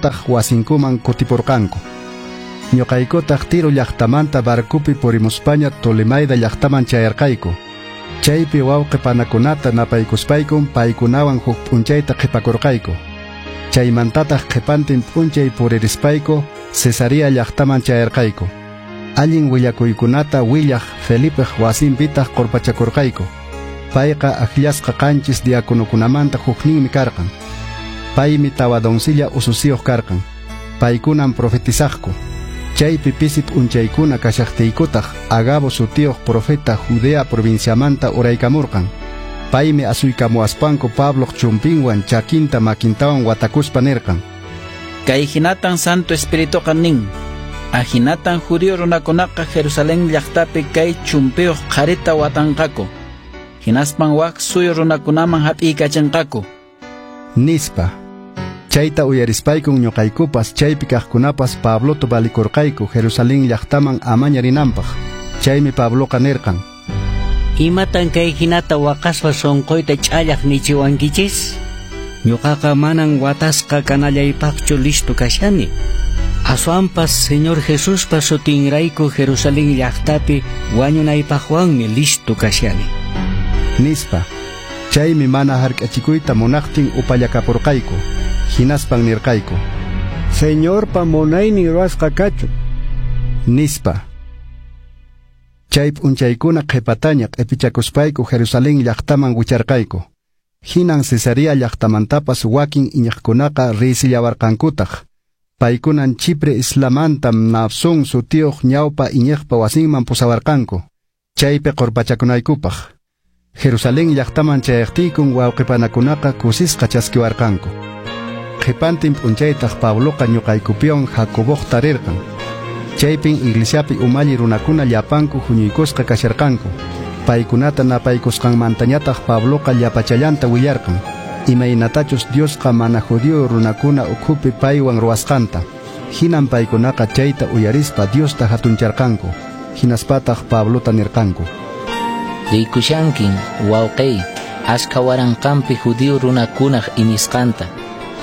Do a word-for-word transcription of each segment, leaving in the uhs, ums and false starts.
Paykunataq wasinkuman kutipurqanku. Ñuqaykutaq Tiro llaqtamanta barcopi purimuspaña Tolemaida llaqtaman chayarqayku. Chaypi wawqi panakunata napaykuspaykum paykunawan huk p'unchayta qhipakurqayku. Chaymantataq qhipantin p'unchay puririspayku Cesarea llaqtaman chayarqayku. Allin willakuykunata willaq Felipeq wasinpitaq qurpachakurqayku. Payqa akllasqa qanchis diakonokunamanta hukninmi karqan. Paymi tawa doncella ususiyuq karqan. Paykunan profetizaqku. Chaypi pisi p'unchaykuna kashaqtiykutaq Agabo sutiyuq profeta Judea provinciamanta uraykamurqan. Paymi asuykamuwaspanku Pabloq chumpinwan chakinta makintawan watakuspa nirqan: Kay hinatan Santo Espirituqa nin. Ahinatan judío runakunaqa Jerusalén llaqtapi kay chumpiyuq qharita watanqaku. Hinaspan wak suyu runakunaman hap'iykachinqaku. Nispa. Chayta uyarispaykun ñuqaykupas chaypi kaqkunapas Pablota valikurqayku Jerusalén llaqtaman amaña rinanpaq. Chaymi Pabloqa nirqan: Imatan kay hinata waqaspa sunquyta ch'allaq nichiwankichis? Ñuqaqa manan watasqa kanallaypaqchu listo kashani. Aswanpas Señor Jesuspa sutinrayku Jerusalén llaqtapi wañunaypaqwanmi listo kashani. Nispa. Chaymi mana hark'achikuyta munaqtin upallakapurqayku. Hinaspan nirqayku: Señorpa munaynin ruwasqa kachun. Nispa. Chay p'unchaykuna qhipataña q'ipichakuspayku Jerusalén llaqtaman wicharqayku. Hinan Cesarea llaqtamantapas wakin iñiqkunaqa riysillawarqankutaq. Paykunan Chipre islamanta Mnasón sutiyuq ñawpa iñiqpa wasinman pusawarqanku. Chaypi qurpachakunaykupaq. Jerusalén llaqtaman chayaqtiykun wawqipanakunaqa kusisqa chaskiwarqanku. Qhipantin p'unchaytaq Pabloqa ñuqaykupiwan Jacoboqta rirqan. Chaypin iglesiapi umalli runakuna llapanku huñuykusqa kasharqanku. Paykunata napaykusqanmantañataq Pabloqa llapachallanta willarqan. Imaynatachus Diosqa mana judío runakuna ukhupi paywan ruwasqanta. Hinan paykunaqa chayta uyarispa Diosta hatuncharqanku. Hinaspataq Pablota nirqanku: Rikushankin, wawqiy, ashka waranqanpi judío runakunaq iñisqanta.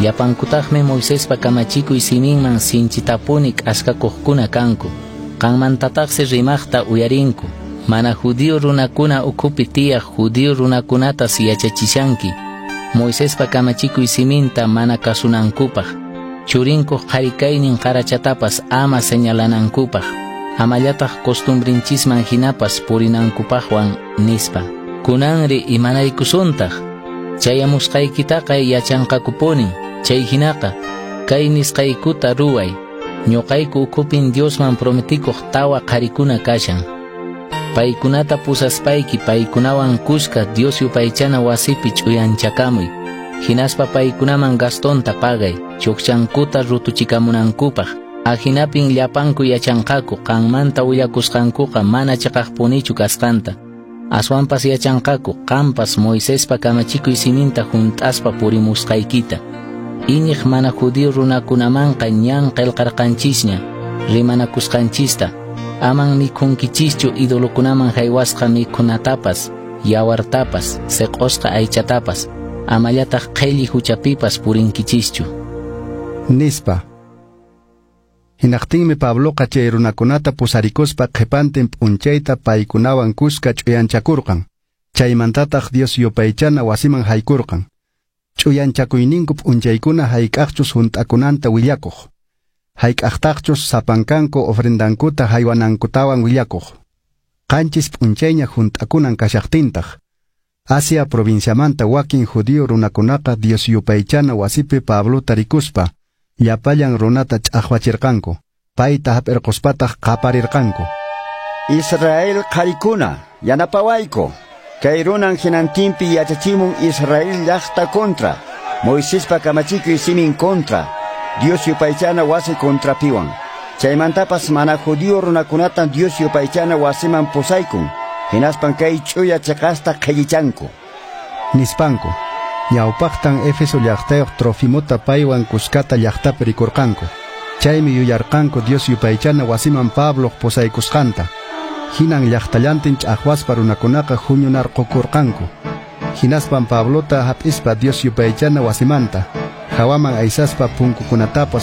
Llapankutaqmi Moisespa kamachikuy siminman sinchitapuni k'askakuqkuna kanku. Qanmantataqsi rimaqta uyarinku. Mana judío runakuna ukhupi tiyaq judío runakunatas yachachishanki. Moisespa kamachikuy siminta mana kasunankupaq. Churinkuq qharikaynin qarachatapas ama señalanankupaq. Amallataq costumbrinchisman hinapas purinankupaqwan nispa. Kunanri imanaykusuntaq. Chayamusqaykitaqa yachanqakupunin. Chay hinaqa kay nisqaykuta ruway. Ñuqayku ukhupin Diosman prometikuq tawa qharikuna kashan. Paykunata pusaspayki paykunawan kuska Dios yupaychana wasipi ch'uyanchakamuy. Hinaspa paykunaman gastonta pagay, chukchankuta rutuchikamunankupaq. Ahinapin llapanku yachanqaku qanmanta willakusqankuqa mana chiqaqpunichu kasqanta. Aswanpas yachanqaku qampas Moisespa kamachikuy siminta hunt'aspa purimusqaykita. Iñiq mana judío runakunamanqa ñan qillqarqanchisña, rimanakusqanchista. Aman mikhunkichischu idolokunaman haywasqa mikhunatapas, yawartapas, seq'osqa aychatapas, amallataq qhelli huchapipas purinkichischu. Nispa. Hinaqtinmi Pabloqa chay runakunata pusarikuspa qhipantin p'unchayta paykunawan kuska ch'uyanchakurqan. Chaymantataq Dios yupaychana wasiman haykurqan. Ch'uyanchakuyninku p'unchaykuna hayk'aqchus hunt'akunanta willakuq. Hayk'aqtaqchus sapankanku ofrendankuta haywanankutawan willakuq. Qanchis p'unchayña hunt'akunan kashaqtintaq. Asia provinciamanta wakin judío runakunaqa Dios yupaychana wasipi Pablota rikuspa llapallan runata ch'aqwachirqanku. Payta hap'irquspataq qaparirqanku: Israel qharikuna, yanapawayku. Kay runan hinantinpi yachachimun Israel llaqta contra, Moisespa kamachikuy simin contra, Dios yupaychana wasi contrapiwan. Chaymantapas mana judío runakunatan Dios yupaychana wasiman pusaykun. Hinaspan kay ch'uya cheqasta qhellichanku. Nispanku. Ñawpaqtan Éfeso llaqtayuq Trofimota paywan kuskata llaqtapi rikurqanku. Chaymi yuyarqanku Dios yupaychana wasiman Pabloq pusaykusqanta. Hinan llaqtallantin ch'aqwaspa runakunaqa huñunarqukurqanku. Hinaspan Pablota hap'ispa Dios yupaychana wasimanta hawaman aysaspa punkukunatapas